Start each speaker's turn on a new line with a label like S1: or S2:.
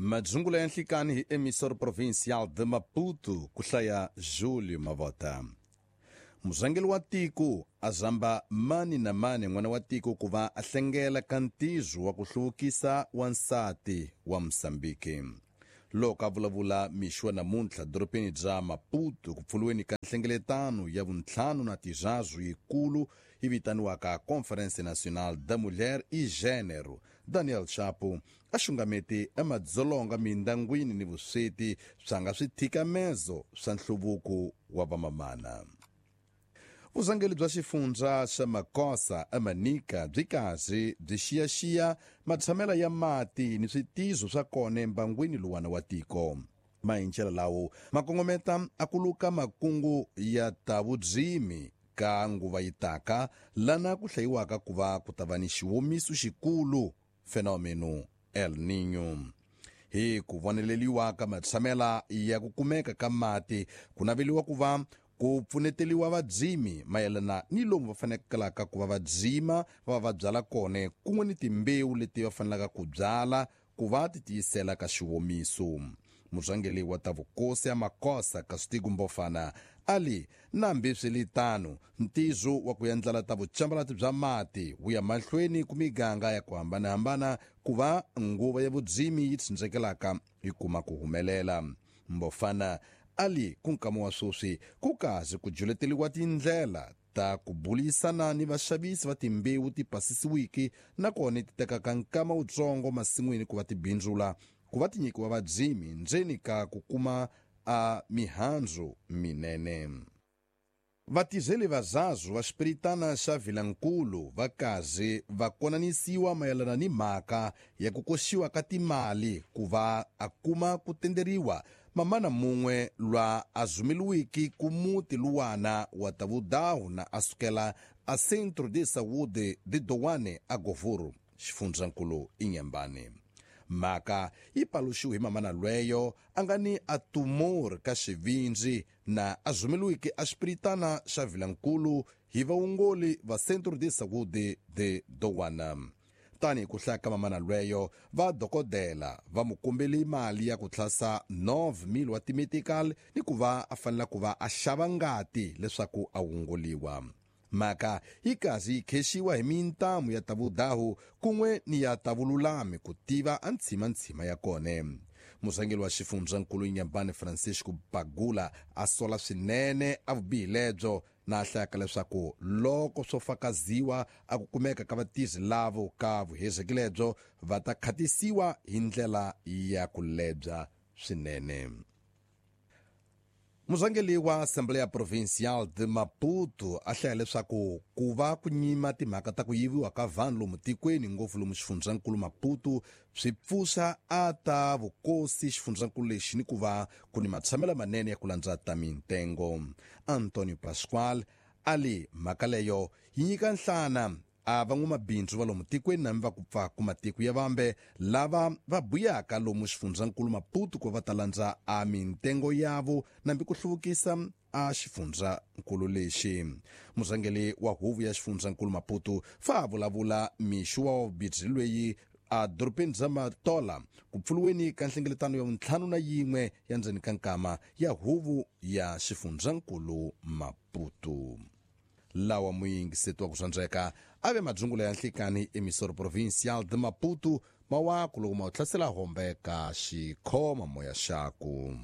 S1: Madzungula ya nhlikani hi Emissor Provincial de Maputo ku hlaya Julio Mavota. Murhangeri wa tiko a zamba mani na mani n'wana wa tiko ku va a hlengela ka ntirho wa ku hluvukisa wansati wa Mozambique. Loko a vulavula mixo wa namuntlha dorobeni bya Maputo ku pfuriweni ka nhlengeletano ya vuntlhanu na tiraru yikulu yi vitaniwaka Conferência Nacional da Mulher e Gênero, Daniel Chapo a xungameti emadzolonga mindyangwini ni vusweti swa nga swithikamezo swa nhluvuko wa vamamana. Vurhangeri bya xifundza xa Makosa eManica byi karhi byi xiyaxiya matshamela ya mati ni switizo swa kona embangwini luwana wa tiko. Mahincela lawo ma kongometa a ku luka makungu ya ta vudzimi ka nguva yi taka lana ku hlayiwaka ku va ku ta va ni xiwomiso xikulu fenomeno El Niño. Hi ku voneleliwa ka matshamela ya ku kumeka ka mati ku naveliwa ku va ku pfuneteliwa vadzimi mayelana ni lomu va fanekelaka ku va vadzima va va byala kona kun'we ni timbewu leti va fanelaka ku byala ku va ti tiyisela ka xiwomiso. Murhangeri wa ta vukosi ya Makosa Castigo Mbofana ali nambi swi ntizo wa ku endlela ta vucambalati bya mati wu ya mahlweni ku miganga ya ku hambanahambana ku va nguva ya vudzimi yi tsindzekelaka yi kuma ku humelela. Mbofana ali ku nkama wa sweswi ku kazi ku juleteliwa tindlela ta ku bulisana ni vaxavisi va timbewu ti pasisiwiki nakona ti tekaka nkama wutsongo masin'wini ku va ti bindzula ku va ti nyikiwa vadzimi ndzeni ka ku kuma a mihandzu minene. Vatizeli vazazu va xipiritana xa Vilankulu va kazi va konanisiwa mayelana ni mhaka ya ku koxiwa ka timali ku va a kuma ku tenderiwa mamana mun'we lwa a zumeliwiki ku muti luwana wa ta vudahu na a sukela a Centro de Saúde de Doane a Govuro xifundzankulu Inhambane. Mhaka yi paluxiwe hi mamana lweyo a nga ni a tumor ka xivindzi na a zumeliwiki a xipiritana xa Vilankulu hi vaongoli va Centro de Saúde de Doana. Tani hi ku hlaya ka mamana lweyo va dokodela va mu kombeli mali ya ku tlhasa 9,000 wa timetical ni ku va a fanela ku va a xava ngati leswaku a wongoliwa. Mhaka yi kazi yi khexiwa hi mintamu ya ta vudahu kun'we ni ya ta vululami ku tiva a ntshimantshima ya kona. Murhangeri wa xifundzankulu Inhambane Francisco Bagula a sola swinene a vubihi lebyo na hlayaka leswaku loko swo fakaziwa a ku kumeka ka vatirhi lavo ka vuhezeki lebyo va ta khatisiwa hi ndlela ya ku lebya swinene. Murhangeri wa Assembleia Provincial de Maputo a hlaya leswaku ku va ku nyima timhaka ta ku yiviwa ka vanhu lomu tikweni ngopfu lomu xifundzankulu Maputo swi pfuxa a ta vukosi xifundzankulu lexi ni ku va ku ni matshamelo manene ya ku landza ta mintengo. Antonio Pascual ali mhaka leyo yi nyika nhlana a van'wamabindzu va lomu tikweni na va ku pfa ku matiko ya vambe lava va buyaka lomu xifundzankulu Maputo ku va ta landza a mintengo yavo nambi ku hluvukisa a xifundzankulu lexi. Murhangeri wa huvo ya xifundzankulu Maputo fa a vulavula mixo wa vubirhi lweyi a dorobeni bya Matola ku pfuriweni ka nhlengeletano ya vuntlhanu na yin'we ya ndzeni ka nkama ya huvo ya xifundzankulu Maputo. Lawa muyingiseti wa ku rhandzeka a ve madzungula ya nhlikani Emissor Provincial de Maputo mawaku loko ma wu hlasela hombe ka xikhoma moya xaku.